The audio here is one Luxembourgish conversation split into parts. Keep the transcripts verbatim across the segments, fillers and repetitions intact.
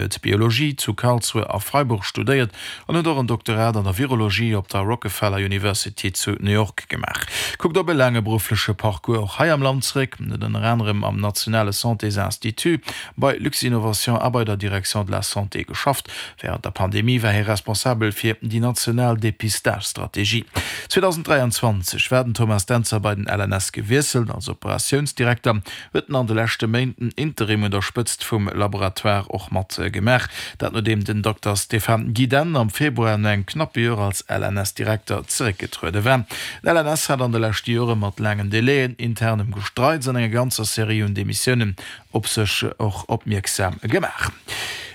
Huet Biologie zu Karlsruhe a Freiburg studéiert an huet och en Doktorat an der Virologie op der Rockefeller University zu New York gemaach. Kuckt op e laange beruffleche Parcours och hei am Land zeréck, huet ënner anerem am nationale Santésinstitut, bei Luxinnovation a bei der Direction de la Santé geschafft. Wärend der Pandemie war hie responsabel fir déi national Depistage-Strategie. zweedausenddräianzwanzeg war den Thomas Dentzer bei den L N S gewiesselt. Als Operatiounsdirekter huet en an de leschte Méint den Interim un der Spëtzt vum Laboratoire och mat gemaach. Dat nodeem den Dokter Stéphane Gidenne am Februar no engem knappe Joer als L N S-Direkter zeréckgetruede war. Den L N S hat an de leschte Jore mat laangen Delaien, internem Gestreits an enger ganzer Serie un Demissiounen op sech och opmierksam gemaach.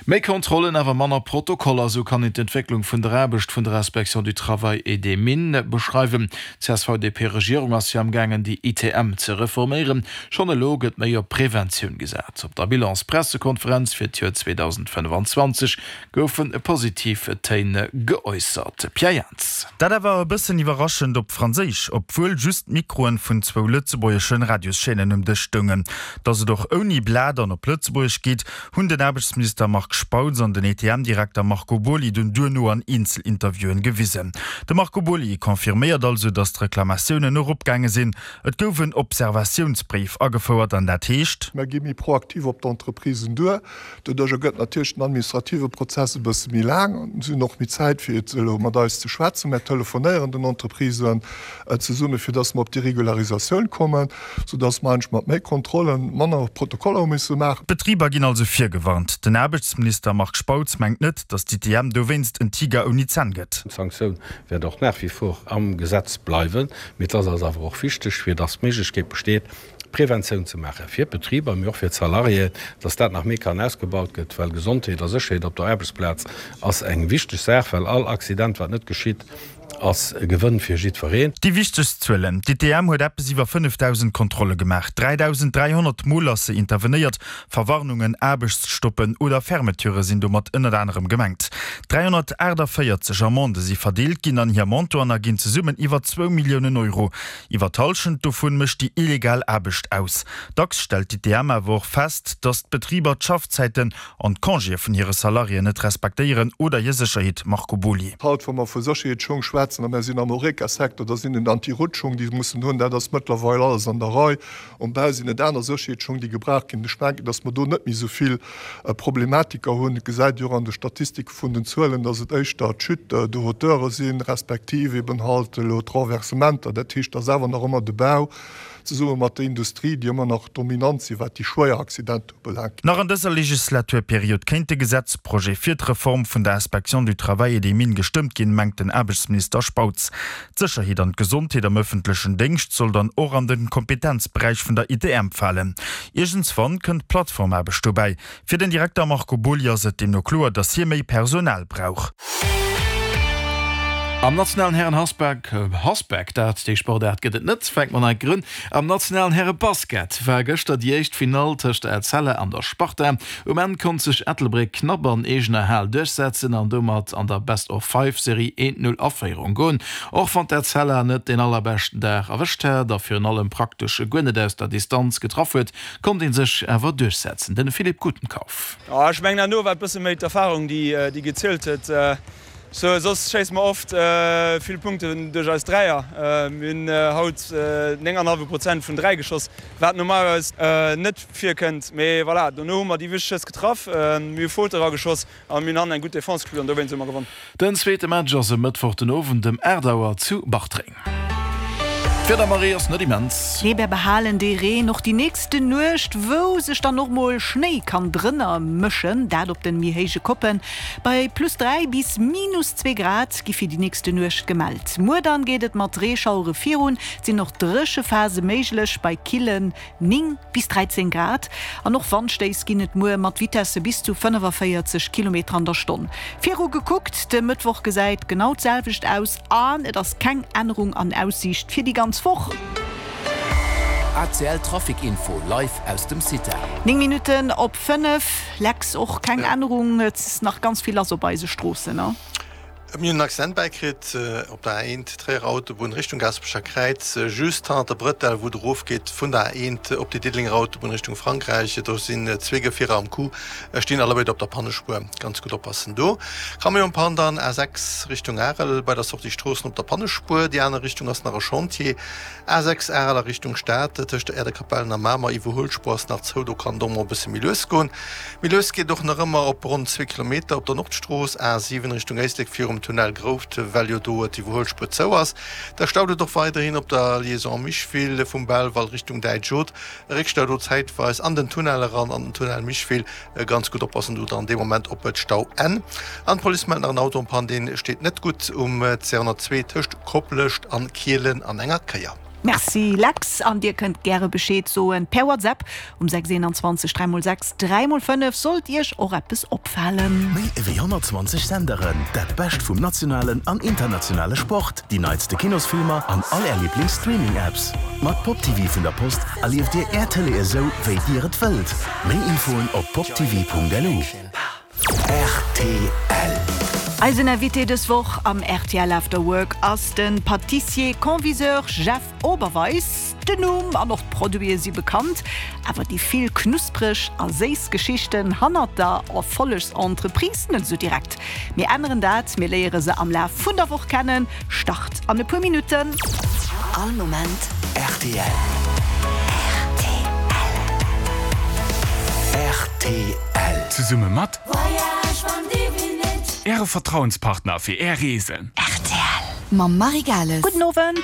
Méi Kontrollen, awer manner Protokoller, esou kann een d'Entwécklung vun der Aarbecht vun der Inspection du Travail et des Mines beschreiwen. D'C S V D P-Regierung ass jo am gaangen déi I T M ze reforméieren. Schonn elo gëtt méi op Preventioun gesat. Op der Bilans-Pressekonferenz fir d'Joer zweedausendfënnefanzwanzeg goufe positiv Téin geäussert. Pierre Jans. Dat awer e bëssen iwwerraschend op Franséisch, obwuel just d'Mikroen vun zwou lëtzebuergeschen Radioschaînen um Dësch stoungen. Datt et och ouni Blat an op Lëtzebuergesch geet, hunn den Aarbechtsminister Marc Spautz an den I T M-Direkter Marco Boly dunn duerno an Eenzelinterviewen gewisen. De Marco Boly confirméiert also, datt d'Reklamatiounen eropgaange sinn. Et gouf en Observatiounsbréif agefouert an dat heescht: Mer gi méi proaktiv op d'Entreprisen duer. Doduerjer gëtt natierlech den administrative Prozess e bësse méi laang. Si hunn och méi Zäit fir elo mat eis ze schwätzen. Mer telefonéieren den Entreprisen zesumme fir datt mer op déi Regularisatioun kommen, soudatt mer eigentlech mat méi Kontrollen manner Protokoller hu misse maachen. D'Betriber ginn also virgewarnt. Den Aarbechtsminister Marc Spautz mengt net, datt d'I T M dowéinst en Tiger ouni Zänn gëtt. D'Sanktioun wäert och nach wie vor am Gesetz bleiwen, mee et ass eis awer och wichteg, fir datt d'Méiglechkeet besteet, Preventioun ze maache fir d'Betriber, mee och fir d'Salariéen, datt dat nach méi kann ausgebaut gëtt, well Gesondheet a Sécherheet op der Aarbechtsplaz ass eng wichteg Saach, well all Accident, wat net geschitt, ass e Gewënn fir jiddwereen. Déi wichtegst Zuelen, D'I T M huet eppes iwwer fënnefdausend Kontrolle gemaach, dräidausend dräihonnert Mol ass se intervenéiert. Verwarnungen, Aarbechtsstoppen oder Fermeturë sinn domat ënnert anerem gemengt. dräihonnertaachtavéierzeg Amendë si verdeelt ginn an hir Montanten erginn zesummen iwwer zwou Milliounen Euro. Iwwer d'Hallschent dovun mécht déi illegal Aarbecht aus. Dacks stellt d'I T M awer och fest, datt d'Betriber d'Schaffzäiten an d'Congéë vun hire Salariéen net respektéieren oder hir Sécherheet. Marco Boly. Haut, wa mer vu Sécherheetsschong schwätzen, a mer sinn am Horeca-Secteur, da sinn et Anti-Rutschschong, déi se mussen hunn. Dat ass mëttlerweil alles an der Rei. Um Bau sinn et aner Sécherheetsschong, déi gebraucht ginn. Ech mengen, datt mer do net méi esou vill Problematiker hunn. Et gesäit ee jo och an de Statistike vun den Zuelen, datt et éischter d'Chutes de hauteure sinn, respektiv eben halt elo d'Renversementer. Dat heescht, et ass awer nach ëmmer de Bau zesumme mat der Industrie, déi ëmmer nach dominant sinn, wat déi schwéier Accidenter ubelaangt. Nach an dëser Legislaturperiod kéint de Gesetzprojet fir d'Reform vun der Inspection du Travail et des Mines gestëmmt ginn, mengt den Aarbechtsminister Spautz. D'Sécherheet an d'Gesondheet am ëffentlechen Déngscht soll dann och an de Kompetenzberäich vun der I T M falen. Iergendswann kënnt d'Plattformaarbecht dobäi. Fir den Direkter Marco Boly ass et deemno kloer, datt hie méi Personal brauch. Am nationalen Hären Hasbak, Hasbak, dat déi Sportaart gëtt et net, fänke mer nei un. Am nationalen Häre Basket war gëschter déi éischt Finall tëscht der Etzella an der Sparta. Um Enn konnt sech Ettelbréck knapp an eegener Hal duerchsetzen an domat an der Best of Five Serie eent Null a Féierung goen. Och wann d'Etzella net deen allerbeschten Dag erwëscht hat a virun allem praktesch guer net aus der Distanz getraff huet, konnt ee sech awer duerchsetzen. De Philippe Gutenkauf. Ech mengen, herno war et bësse méi d'Erfarung, déi gezielt huet. Sou, soss schéisse mer oft vill Punkten duerch eis Dräier. Mir hunn haut néng an hallwe Prozent vun dräi geschoss, wat normalerweis net virkënnt. Mee voilà, dono hu mer déi wichteg Schëss getraff, mir hu Faute erageschoss a mir hunn hannen eng gutt Defense gespillt an dowéinst hu mer gewonn. Den zweete Match ass e Mëttwoch den Owend ëm aacht Auer zu Bartreng. D'Wieder, Marie, ass net immens. Nee, mer behalen dee Reen och déi nächste Nuecht, wou sech dann och mol Schnéi kann drënner mëschen, dat op den méi héije Koppen. Bei plus dräi bis minus zwee Grad gi fir déi nächste Nuecht gemellt. Muer dann geet et mat Reeschauere virun, et sinn och dréche Phase méiglech bei killen néng bis dräizéng Grad. An och Wandstéiss ginn et muer mat Vitesse bis zu fënnefavéierzeg Kilometer an der Stonn. Viru gekuckt, de Mëttwoch gesäit genau d'selwecht aus an et ass keng Ännerung an Aussiicht fir déi ganz Woch. A C L Trafic Info live aus dem Cita. Néng Minutten op fënnef, Lex, och keng Ännerung, et ass nach ganz vill lass op eise Stroossen, ne? Mir hunn en Accident bäikritt op der A eent, Tréierer Autobunn Richtung Gaasperecher Kräiz, just hannert der Brëtell, wou et erofgeet vun der A eent op déi Diddelenger Autobunn Richtung Frankräich. Do sinn zwee Gefierer am Coup, stinn allebéid op der Pannespuer. Ganz gutt oppassen do. Camion Panne dann A sechs Richtung Arel bei der Sortie Stroossen op der Pannespuer. Déi aner Richtung ass nach e Chantier. A sechs Arel a Richtung Stad, tëscht der Äerdekapellen a Mamer, Iwwerhuelspuer ass nach zou, do kann et och mol e bësse méi lues goen. Méi lues geet et och nach ëmmer op ronn zwee Kilometer op der Nordstrooss, A siwen Richtung Éislek virum Tunnel Grouft, well jo do d'Iwwerhuelspuer zou ass. Da staut et och weiderhin op der Liaison Micheville vum Belval Richtung Däitsch Haute. Réckstau do zäitweis an den Tunnel eran, an den Tunnel Micheville. Ganz gutt oppassen do dann dee Moment op d'Stauenn. An d'Police mellt nach en Auto en panne, dee steet net gutt um C honnertzwee tëscht Koplescht an Kielen an enger Kéier. Merci Lex, an dir kënnt gäre Bescheed soen per WhatsApp um sechs eenanzwanzeg dräi mol sechs dräi mol fënnef sollt iech och eppes opfalen. Méi ewéi honnertzwanzeg Senderen, dat Bescht vum nationalen an internationale Sport, déi neitste Kinosfilmer an all är Liiblings-Streaming-Apps. Mat PopTv vun der Post erlieft dir är Tëlee esou, wéi dir et wëllt. Méi Infoen op poptv.lu. Rtl. Eisen Invité dës Woch am rtl After Work ass de Pâtissier-Conviseur Jeff Oberweis. Den Numm an och d'Produite si bekannt, awer déi vill knuspreg a séiss Geschichten hannert der Erfollegsentreprise net esou direkt. Mir änneren dat, mir léiere se am Laf vun der Woch kennen. Start an e puer Minutten. All Moment rtl. Rtl. Zesumme mat Äre Vertrauenspartner fir Är Reesen. Rtl mam Marie Gales. Gudden Owend.